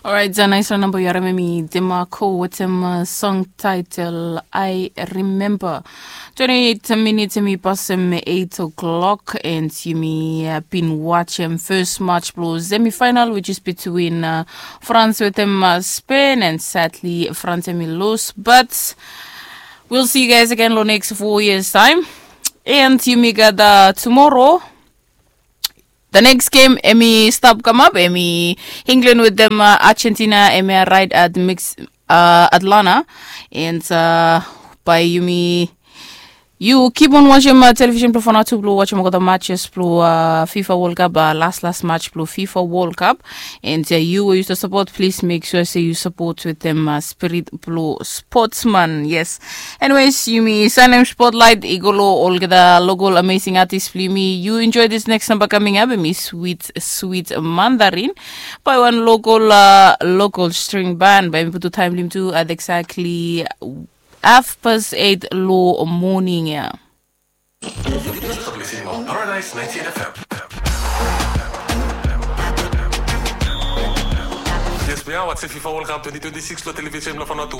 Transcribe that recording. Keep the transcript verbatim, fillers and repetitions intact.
Orait, nais namba yu harim em i Demarco wetem song title I Remember. Twenty-eight minutes em i pasem eight o'clock and yumi bin wajem first match blong semifinal, which is between France wetem Spain, and sadly France em i lose, but we'll see you guys again long next four years time. And yumi gat tomorrow. The next game em i stap kamap em i England wetem Argentina, em i right at mix Atlanta. And bae yumi yu keep on wajem television blong Fana tu blong wajem olgeta matches blong FIFA World Cup, las las match blong FIFA World Cup. And yu we yu stap sapot, plis mek sua se yu sapot wetem spirit blong sportsman. Yes. Anyways, yumi sanem spotlight i go long olgeta local amazing artist blong yumi. Yu enjoy this next number coming up, em i Sweet Sweet Mandarin by one local local string band. Bae yumi putum taem blong yumi tu at exactly half past eight long moning ya. Yes, we are watching FIFA World Cup twenty twenty-six lo television lo Fana tu.